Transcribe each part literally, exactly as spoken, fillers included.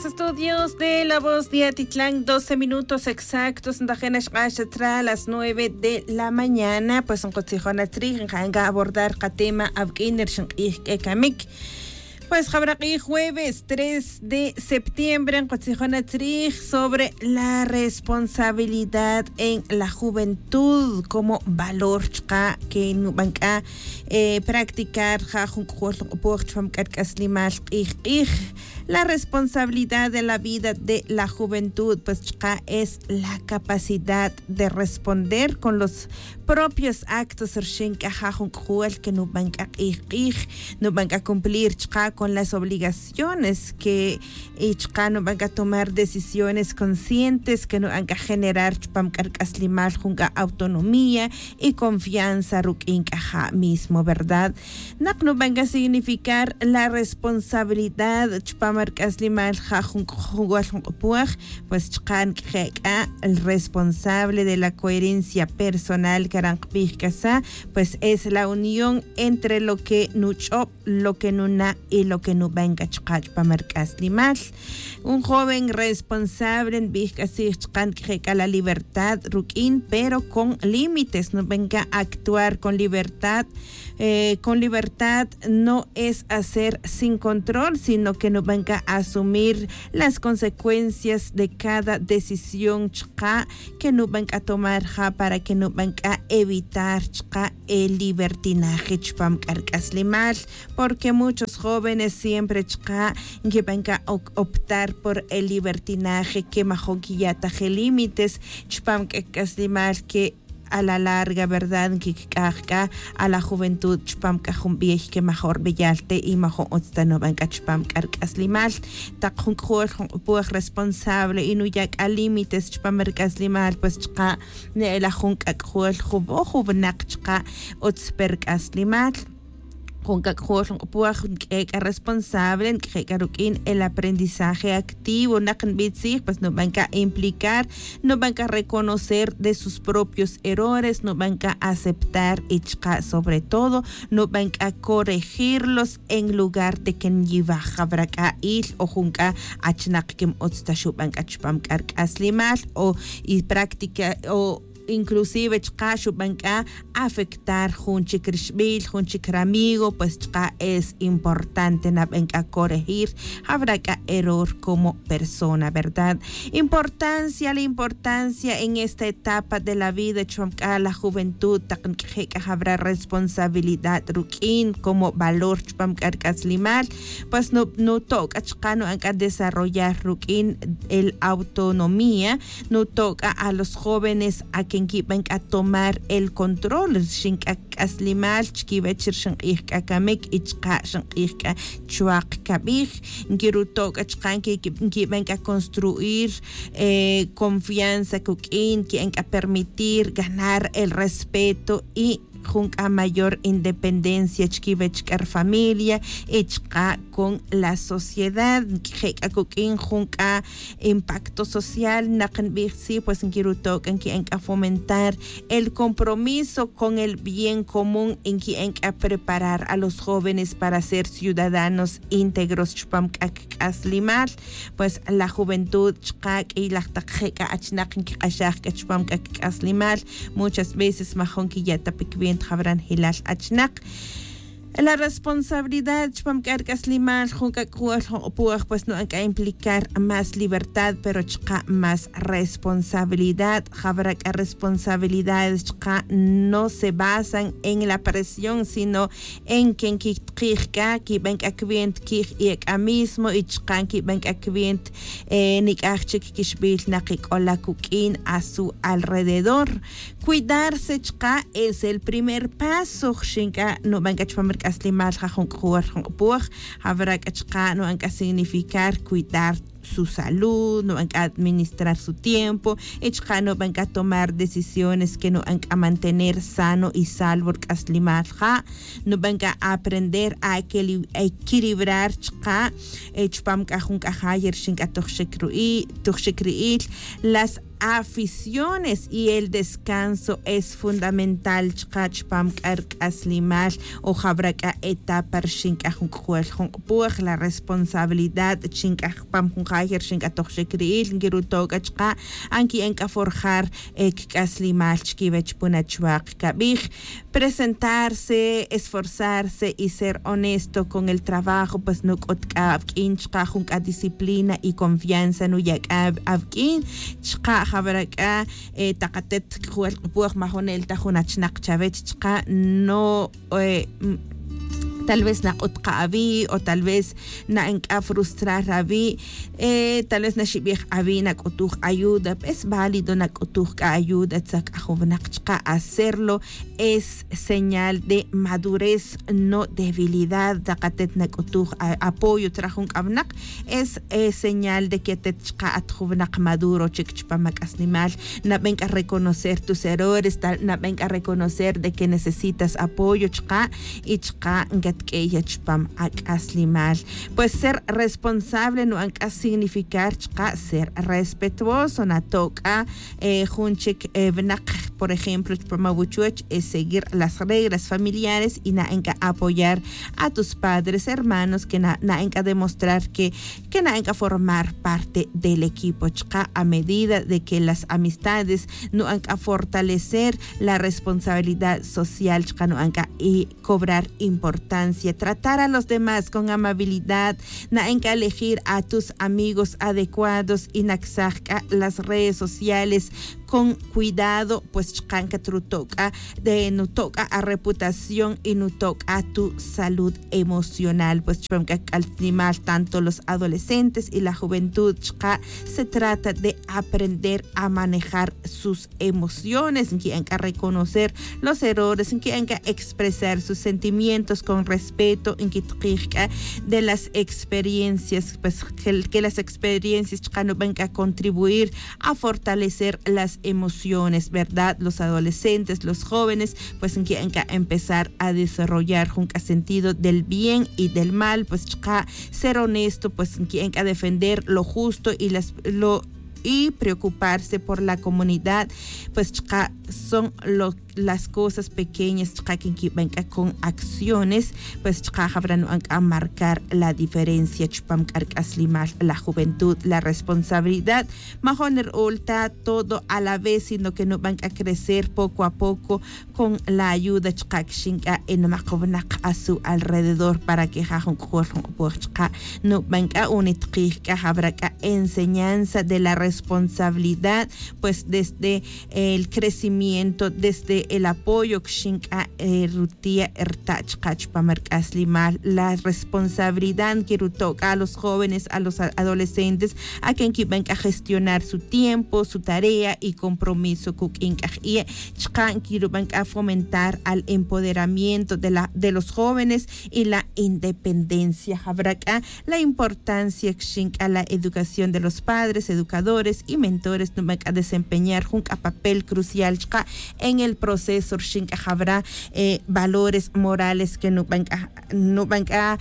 Estudios de la voz de atitlan doce minutos exactos ntajena xq'ax chatra las nueve de la mañana pues nqutzijon atzrij nqa'an ka abordar qatema awk'in rixin q'ij k'e kamik. Pues jab'ra q'ij jueves tres de septiembre nqutzijon atzrij sobre la responsabilidad en la juventud como valor chqa' ke nub'an k'a practicar ja jun k'jol nq'opoj chpam k'a rk'aslimal q'ij q'ij. La responsabilidad de la vida de la juventud pues chqa' es la capacidad de responder con los propios actos rxin k'a ja jun k'jol ke nub'an k'a q'ij q'ij nub'an k'a cumplir chqa' con las obligaciones ke y chqa' nub'an k'a tomar decisiones conscientes ke nub'an k'a generar chpam k'a rk'aslimal jun k'a autonomía y confianza ruk'in k'a ja' mismo verdad. Naq nub'an k'a significar la responsabilidad chpam rk'aslimal ja jun k'jol nq'opoj pues chqa' nk'je' k'a el responsable de la coherencia personal karan qb'ij k'a sa pues es la unión entre lo ke nuch'ob lo ke nuna' y lo ke nub'an k'a chqa' chpam rk'aslimal. Un joven responsable nb'ij k'a tzij chqa' nk'je' k'a la libertad ruk'in pero con límites nub'an k'a actuar con libertad. Con libertad no es hacer sin control sino ke nub'an k'a asumir las consecuencias de cada decisión chqa' ke nub'an k'a tomar ja para ke nub'an k'a evitar chqa' el libertinaje chpam k'a rk'aslimal. Porque muchos jóvenes siempre chqa' nkib'an k'a optar por el libertinaje ke majun kiya'taj el límites chpam k'a k'aslimal ke a la larga verdad nkik'aj k'a a la juventud chpam k'a jun b'ey ke majun rb'eyal te y majun utz ta nub'an k'a chpam k'a rk'aslimal. Taq jun k'jol jun q'opoj responsable y nuya' k'a límites chpam rk'aslimal pues chqa' ne'elaj jun k'ak'jol jub'oj jub'naq chqa' utz pe rk'aslimal. Jun k'ak'jol nq'opoj nk'e' k'a responsable nk'je' k'a ruk'in el aprendizaje activo naq nb'i tzij pues nub'an k'a implicar nub'an k'a reconocer de sus propios errores nub'an k'a aceptar y chqa' sobre todo nub'an k'a corregirlos en lugar de ke nyiwaj jab'ra k'a il o jun k'a achnaq ke m'utz ta xub'an k'a chpam k'a rk'aslimal o y práctica o inclusive chqa' xub'an k'a afectar jun chik rixb'il jun chik ramigo pues chqa' es importante nab'an k'a corregir jab'ra k'a error como persona verdad. Importancia la importancia en esta etapa de la vida chpam k'a la juventud taq nk'je' k'a jab'ra responsabilidad ruk'in como valor chpam k'a rk'aslimal. Pues nuto' k'a chqa' nub'an k'a desarrollar ruk'in el autonomía nuto' k'a a los jóvenes a ke nkib'an k'a tomar el control rixin k'a k'aslimal chkiwech rixin q'ij k'a kamik y chqa' rixin q'ij k'a chuwaq kab'ij. Nkiruto' k'a chqa' nkib'an k'a construir confianza kuk'in nki'an k'a permitir ganar el respeto y jun k'a mayor independencia chkiwech k'a rfamilia y chqa' con la sociedad nk'je' k'a kuk'in jun k'a impacto social naq nb'ij tzij pues nkiruto' k'a nki'an k'a fomentar el compromiso con el bien común nki'an k'a preparar a los jóvenes para ser ciudadanos íntegros chpam k'a kik'aslimal. Pues la juventud chqa' k'iy laj taq je' k'a achnaq nkiq'axaj k'a chpam k'a kik'aslimal muchas veces majun kiya' ta pe kiwenta jab'ra njelal achnaq. La responsabilidad chpam k'a rk'aslimal jun k'a k'u'al jun q'opoj pues nub'an k'a implicar más libertad pero chqa' más responsabilidad. Jab'ra k'a responsabilidades chqa' no se basan en la presión sino en ke nkitqij k'a kib'an k'a kiwenta kij y ek'a mismo y chqa' kib'an k'a kiwenta nik'aj chik kixb'il naq ik'ola kuk'in a su alrededor. Cuidarse chqa' es el primer paso xin k'a nub'an k'a chpam rk'aslimal ja jun k'u'al jun q'opoj. Jab'ra k'a chqa' nub'an k'a significar cuidar su salud nub'an k'a administrar su tiempo y chqa' nub'an k'a tomar decisiones ke nub'an k'a mantener sano y salvo rk'aslimal ja'. Nub'an k'a aprender a equilibrar chqa' chpam k'a jun k'a jay rixin k'a toj xik ru'i' toj xik ri'il las aficiones y el descanso es fundamental chka' chpam k'a rk'aslimal. O jab'ra k'a etapa rxin k'a jun k'ujol jun q'upoj la responsabilidad rxin k'a jpam jun jay rxin k'a tojxik ri'il nkiruto' k'a chka' anki'en k'a forjar kik'aslimal chkiwech puna chwaq kab'ij presentarse, esforzarse y ser honesto con el trabajo pues nuk'ut k'a awk'in chka' jun k'a disciplina y confianza nuya' k'a awk'in chka' jab'ra k'a taq atet k'ujol q'upoj majonel ta jun achnaq chawech chka' no tal vez nak'ut qa awi' o tal vez na'en k'a frustrar awi'. Tal vez naxib'ij awi' nak'utuj ayuda es válido nak'utuj k'a ayuda tzaj k'a jun winaq chka' hacerlo es señal de madurez no debilidad. Taq atet nak'utuj apoyo tzra jun k'a winaq es señal de que atet chka' at jun winaq maduro chik chpam ak'aslimal. Naben k'a reconocer tus errores, naben k'a reconocer de que necesitas apoyo chka' y chka' nkatk'eya chpam ak'aslimal. Pues ser responsable nu'an k'a significar chka' ser respetuoso nato' k'a jun chik winaq por ejemplo chpam awuchuch es seguir las reglas familiares y na'en k'a apoyar a tus padres hermanos que na'en k'a demostrar que que na'en k'a formar parte del equipo chka' a medida de que las amistades nu'an k'a fortalecer la responsabilidad social chka' nu'an k'a y cobrar importancia tratar a los demás con amabilidad. Na'en k'a elegir a tus amigos adecuados y naksaj k'a las redes sociales con cuidado pues chka' nkatruto' k'a de nuto' k'a areputación y nuto' k'a tu salud emocional pues chpam k'a k'altinimal tanto los adolescentes y la juventud chka' se trata de aprender a manejar sus emociones nki'en k'a reconocer los errores nki'en k'a expresar sus sentimientos con respeto nkitqij k'a de las experiencias pues que las experiencias chka' nuben k'a contribuir a fortalecer las emociones verdad los adolescentes los jóvenes pues nki'en k'a empezar a desarrollar jun k'a sentido del bien y del mal pues chka' ser honesto pues nki'en k'a defender lo justo y las lo y preocuparse por la comunidad. Pues chka' son lo las cosas pequeñas chka' que nkiben k'a con acciones pues chka' jab'ra nu'an k'a marcar la diferencia chpam k'a rk'aslimal la juventud la responsabilidad. Majon r'ul ta todo a la vez sino que nuben k'a crecer poco a poco con la ayuda chka' kixin k'a e nimaq winaq a su alrededor para que ja jun k'ujol jun q'upoj chka' nuben k'a unitqij k'a jab'ra k'a enseñanza de la responsabilidad pues desde el crecimiento desde el apoyo kixin k'a rutiya' rta' chka' chpam rk'aslimal la responsabilidad nkiruto' k'a a los jóvenes a los adolescentes a que nkiben k'a gestionar su tiempo su tarea y compromiso kuk'in k'a jie' chka' nkiruben k'a fomentar al empoderamiento de la de los jóvenes y la independencia jab'ra k'a la importancia kixin k'a la educación de los padres educadores y mentores nuben k'a desempeñar jun k'a papel crucial chka' en el proceso rxin k'a jab'ra valores morales que nuben k'a nuben k'a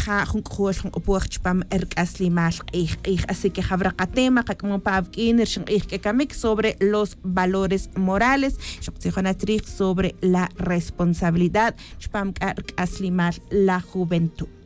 ja jun k'ujol jun q'upoj chpam rk'aslimal q'ij q'ij así que jab'ra qatema qak'amon pa awk'in rxin q'ij k'a kamik sobre los valores morales. Xoqtzijon atrij sobre la responsabilidad chpam k'a rk'aslimal la juventud.